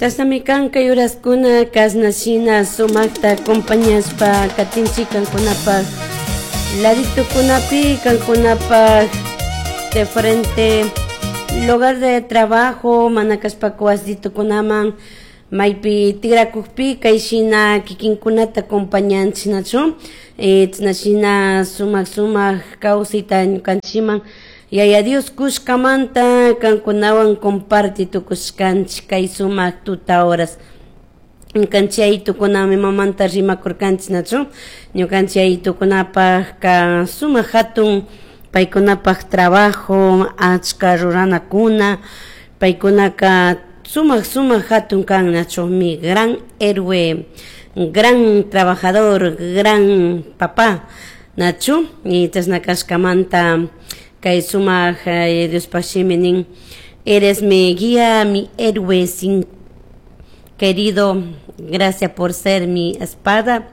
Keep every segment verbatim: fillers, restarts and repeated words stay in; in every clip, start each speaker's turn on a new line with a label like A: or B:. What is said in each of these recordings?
A: Chashnami kan kay uraskuna kashna shina sumakta acompañashpa katinchik kankunapak laditukunapi, kankunapak de frente lugar de trabajo, mana kashpaka wasitukunaman maypi tikrakukpi kay shina kikinkunata acompañanchik, nachu? Chashna shina sumak sumak kawsayta ñukanchikman Yaya Dios kushkamanta kankunawan comparti tukushkanchik kay sumak tuta horas. Ñukanchik yayitukunami mamanta rimakurkanchik, nachu? Ñukanchik yayitukunapakka sumak hatun paykunapak trabajo, achka ruranakuna, paykunaka sumak sumak hatun kan, nachu? Mi gran héroe, gran trabajador, gran papá, nachu? Y chashna kashkamanta kay sumak Diospak shimi nin: "Eres mi guía, mi héroe sin querido, gracias por ser mi espada.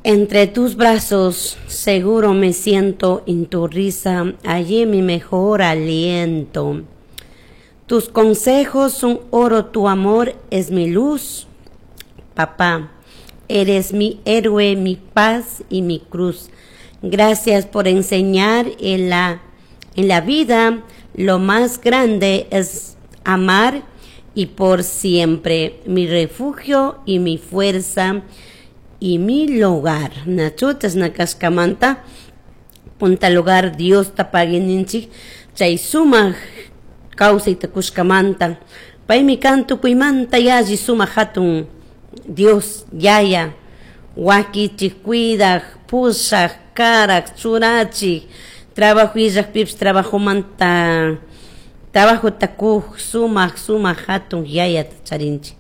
A: Entre tus brazos seguro me siento, en tu risa hallé mi mejor aliento. Tus consejos son oro, tu amor es mi luz. Papá, eres mi héroe, mi paz y mi cruz. Gracias por enseñar en la, en la vida lo más grande es amar y por siempre mi refugio y mi fuerza y mi hogar". Nachu? Chashna kashkamanta punta lugar Diosta pagui ninchik chay sumak kawsayta kushkamanta. Paymi kan tukuymanta yalli sumak hatun Dios Yaya, wakichik, cuidak, pushak, karak, churachik, trabajo illakpipish trabajomanta trabajota kuk sumak sumak hatun Yayata charinchik.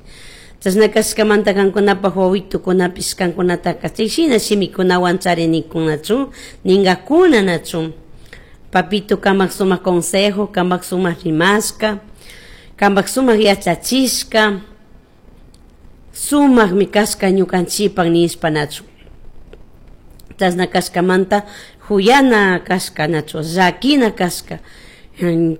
A: Chashna kashkamanta kankunapak wawitukunapish kankunataka chay shina shimikunawan charinikunachu ninkakuna, nachu? "Papito, kamak sumak consejo, kamak sumak rimashka, kamak sumak yachachishka sumakmi kashka ñukanchikpak" nishpa, nachu? Chashna kashkamanta huyana kashka, nachu? Llakina kashka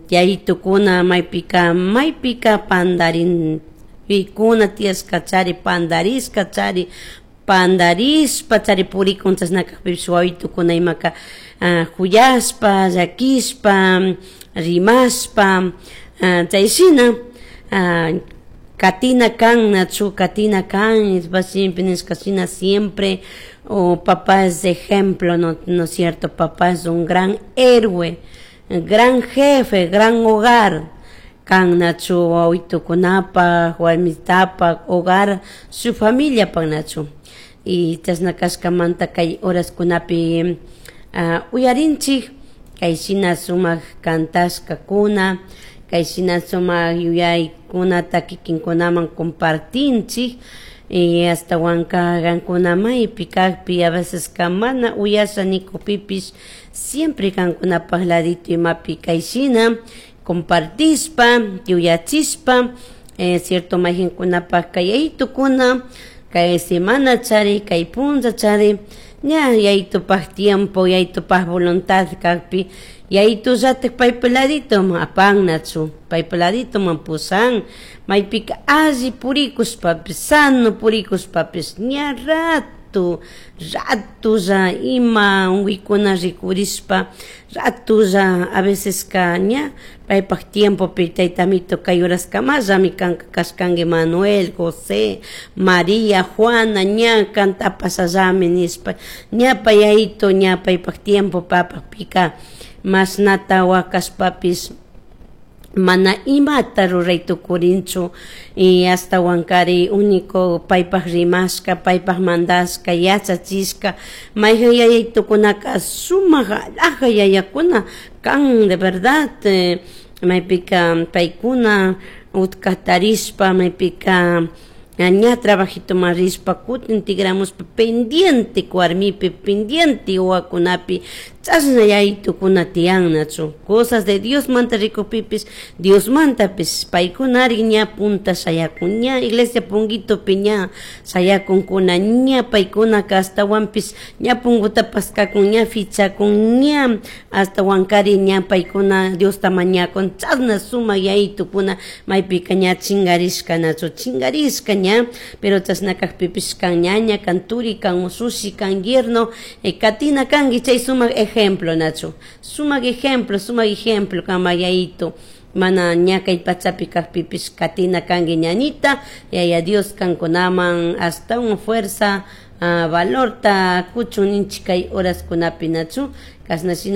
A: yayitukuna maypika maypika pandarin pikuna tiyashka chari, pandarishka chari, pandarishpa chari purikun. Chashna kakpipish wawitukuna imaka huyashpa, llakishpa, rimashpa chay shina katina kan, nachu? Katina kan siempre nishka shina siempre o papá es ejemplo, no, no es cierto? Papá es un gran héroe, gran jefe, gran hogar kan, nachu? Wawitukunapak, warmitapak hogar, su familiapak, nachu? Y chashna kashkamanta kay horaskunapi uyarinchik kay shina sumak kantashkakuna, kay shina sumak yuyaykunata kikinkunaman compartinchik. Y ashtawanka kankuna maypi kakpi, a veces ka mana uyasha nikukpipish, siempre kankunapak ladito imapi kay shina compartishpa, yuyachishpa, eh, cierto maykankunapak kay yayitukuna kay semana chari, kay punlla chari, ña yayitupak tiempo, yayitupak voluntad kakpi, yayitullatik paypa laditoman apan, nachu? Paypa laditoman pushan maypika alli purikushpapish, sano purikushpapish, ña rato ratolla ima unkuykuna rikurishpa ratolla a veces ka ña paypak tiempopi: "Tayta amito, kay horaskamallami kanka kashkanki Manuel, José, María, Juana, ña kanta apashallami" nishpa, ña pay yayito ña paypak tiempo papakpika mashnata wakashpapish mana imata ruray tukurinchu. Y ashtawankari único paypak rimashka, paypak mandashka, yachachishka. Mayjan yayaytukunaka sumak alhaja yayakuna kan, de verdad, maypika paykuna utka tarishpa, maypika ña trabajitoman rishpa, kutin tigramushpa pendiente warmipi, pendiente wawakunapi. Chashna yayitukuna tiyan, nachu? Cosas de Diosmanta rikukpipish, Diosmantapish paykunari ña punta shayakun, ña iglesia punguitopi ña shayakunkuna, ña paykunaka ashtawanpish ña punguta paskakun, ña fichakun, ña ashtawankari ña paykuna Diosta mañakun. Chashna sumak yayitukuna maypika ña chingarishka, nachu? Chingarishka ña. Pero chashna kakpipish kan ñaña, kan turi, kan ushushi, kan yerno, eh, katina kanki chay sumak ejemplo, nachu? Sumak ejemplo, sumak ejemplo kama yayitu mana ña kay pachapi kakpipish katina kanki, ñañita. Yaya Dios kankunaman ashtawan fuerza, uh, valorta kuchun ninchik kay horaskunapi, nachu? Kashna shina.